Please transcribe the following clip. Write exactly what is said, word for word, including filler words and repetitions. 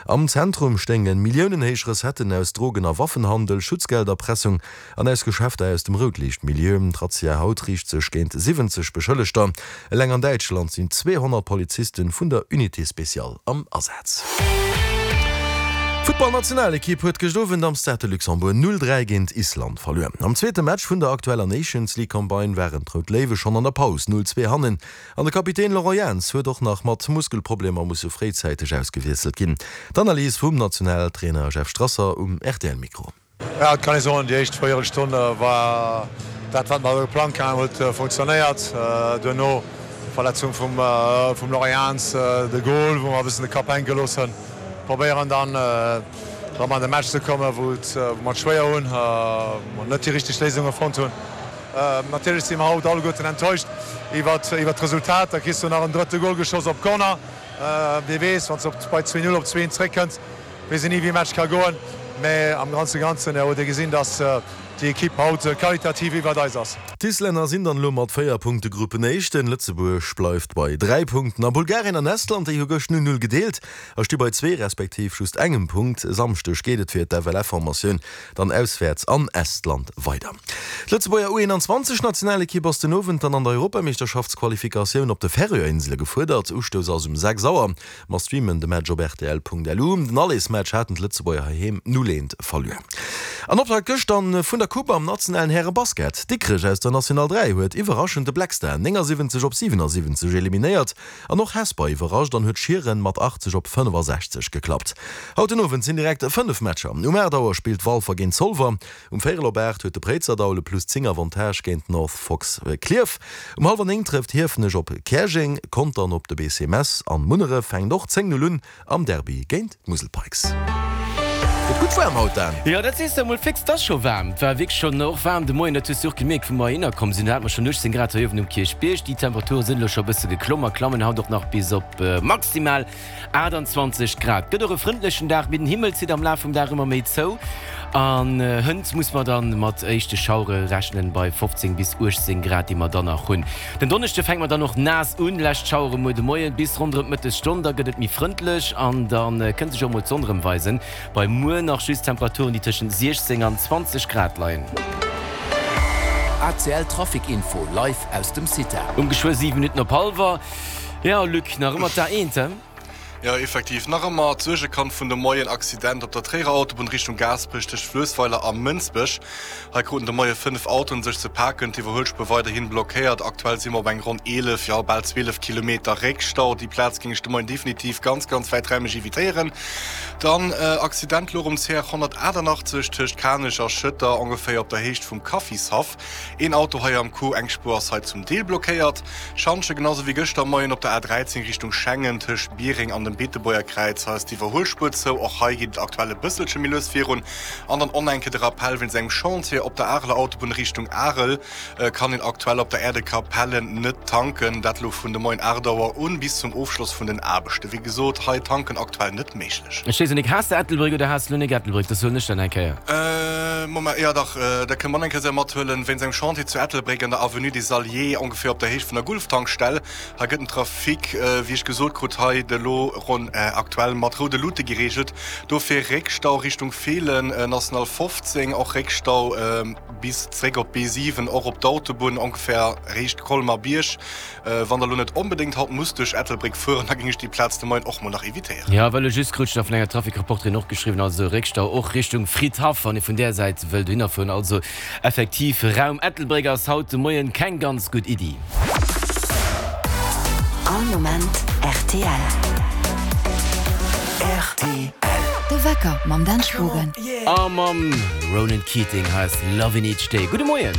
Am Zentrum stéinge milliounenhéich Recetten aus Drogen a Waffenhandel, Schutzgelderpressung an aus Geschäfter aus dem Routliichtmilieu. D'Razzia haut riicht sech géint siwwenzeg Beschëllegter. Eleng an Däitschland sinn zweehonnert Poliziste vun der Unité spéciale am Asaz. D'Futtballnationalekipp huet gëscht Owend am Stade de Luxembourg null dräi géint Island verluer. Am zweete Match vun der aktueller Nations League Campagne waren d'Rout Léiwe schonn an der Paus null zwee hannen an de Kapitän Laurent Jans huet och nach mat Muskelproblemer musse fréizäiteg ausgewiesselt ginn. D'Analys vum Nationaltrainer Jeff Strasser um R T L-Mikro. Ja, et kann ee soen, déi éischt Véierelstonn war dat, wat mer geplangt haten, huet funktionéiert. Duerno d'Verletzung vum vum Laurent Jans, de Gol, wou mer e bëssen de Kapp hänke gelooss hunn. Probéieren dann erëm an de Match ze kommen, wou et wou mer et schwéier hunn, wou mer net déi richteg Léisunge fonnt hunn. Natierlech si mer haut alleguerten enttäuscht iwwert iwwert d'Resultat. Da kriss du nach en drëtte Gol geschoss op Corner. Wie weess, wann s de op bei zwee Null op zwee Eent zréckkënns, weess een ni wéi e Match ka goen. Mä am Ganze Ganzen huet ee gesinn, datt déi Ekipp haut qualitativ iwwert eis ass. D'Islänner sinn dann elo mat véier Punkte Gruppenéischten, Lëtzebuerg bleift bei dräi Punkten a Bulgarien an Estland, déi hu gëscht null null gedeelt a sti bei zwee respektiv just engem Punkt. E Samschdeg geet et fir d'F L F-Formatioun dann auswäerts an Estland weider. D'Lëtzebuerger U eenanzwanzeg Nationalekipp ass den Owend dann an der Europameeschterschaftsqualifikatioun op de Färöerinsele gefuerdert. Ustouss ass um sechs Auer. Mer streamen de Match op R T L Punkt L U. Den Allersmatch haten d'Lëtzebuerger heiheem null eent verluer. An Optakt gëscht dann vun der Coupe am nationalen Härebasket. Dikrech aus der National dräi huet iwwerraschend de Black Star néngasiwwenzeg op siwenasiwwenzeg eliminéiert an och Hesper iwwerrascht an huet Schieren mat achtzeg op fënnefasechzeg geklappt. Haut den Owend sinn direkt fënnef Matcher. Um aacht Auer spillt Walfer géint Zolwer, um véierel op aacht huet de Préizerdaul e plus zéng Avantage géint North Fox Klierf, um hallwer néng trëfft Hiefenech op Käerjeng, Contern op de B C Mess an Munneref fänkt och zéng Null un am Derby géint d'Musel Pikes. Gëtt gutt waarm haut, Dan. Jo, dat sees de emol fix, 't ass scho waarm. 't war wierklech schonn och waarm de Moien, dat hues du och gemierkt, wou mer heihinner komm sinn. Do hate mer schonn uechtzéng Grad hei uewen um Kierchbierg. Déi Temperature sinn elo scho e bësse geklomm a klammen haut och nach bis op maximal aachtanzwanzeg Grad. Gëtt och e frëndlechen Dag, mee den Himmel zitt am Laf vum Dag ëmmer méi zou an hënt muss mer dann mat éischte Schauere rechnen bei fofzéng bis uechtzéng Grad, déi mer dann nach hunn. Den Donneschde fänke mer dann och naass un, lescht Schauere muer de Moien bis ronderëm d'Mëttesstonn, da gëtt et méi frëndlech an da kënnt sech och mol d'Sonn erëm weisen. Bei muer nach just Temperaturen, déi tëschent siechzéng an zwanzeg Grad leien. A C L Trafic Info live aus dem CITA. Um geschwë siwe Minutten op hallwer. Jo, Luc, nach ëmmer d'A eent, he? Jo, effektiv, nach ëmmer d'Suergekand vun de Moien, Accident op der Tréierer Autobunn Richtung Gaasperech tëscht Fluessweiler a Mënsbech. Hei kruten de Moie fënnef Autoen sech ze paken, d'Iwwerhuelspuer weiderhin blockéiert. Aktuell si mer op eng ronn eelef, jo bal zwielef Kilometer Réckstau. Déi Plaz géing ech de Moien definitiv ganz, ganz wäiträimeg evitéieren. Dann Accident elo um C R honnertaachtanachtzeeg tëscht Kanech a Schëtter, ongeféier op der Héicht vum Kaffishaff. Een Auto hei am Coup, eng Spuer ass hei zum Deel blockéiert. Schantje, genau sou wéi gëschter Moien op der A dräizéng Richtung Schengen tëscht Biereng an dem Beetebuerger Kräiz, hei ass d'Iwwerhuelspuer zou. Och hei geet et aktuell e bësselche méi lues virun. An dann och enke de Rappell, Wéinst engem Chantier op der Areler Autobunn Richtung Arel kann een aktuell op der Aire de Capellen net tanken. Dat elo vun de Moien aacht Auer un bis zum Ofschloss vun den Aarbechten. Wéi gesot, hei tanken aktuell net méiglech. Ech weess net, has de Ettelbréck oder has de lo nik Ettelbréck? Dat soen ech dann eng Kéier. Moment, jo dach, dat kënne mer eng Kéier mathuelen. Wéinst engem Chantier zu Ettelbréck an der Avenue des Alliés, ongeféier op der Héicht vun der Gulftankstell. Hei gëtt den Trafic, wéi ech gesot krut, hei de lo ronn aktuell mat roude Luute gereegelt. Dofir Réckstau Richtung Feelen, National fofzéng, och Réckstau bis zréck op d'B siwen, och op d'Autobunn, ongeféier Riicht Colmer-Bierg. Wann der lo net onbedéngt haut musst duerch Ettelbréck fueren, da géing ech déi Plaz de Moien och mol nach evitéieren. Jo, well ech just krut ech nach vun enger Trafic-Reporterin och geschriwwen, also Réckstau och Richtung Fridhaff, wann ee vun där Säit wëll dohinner fueren. Also effektiv, Raum Ettelbréck ass haut de Moien keng ganz gutt Iddi. All Moment R T L. R T L. De Wecker mam Dan Spogen. A mam Ronan Keating, hei ass Lovin' Each Day. Gudde Moien.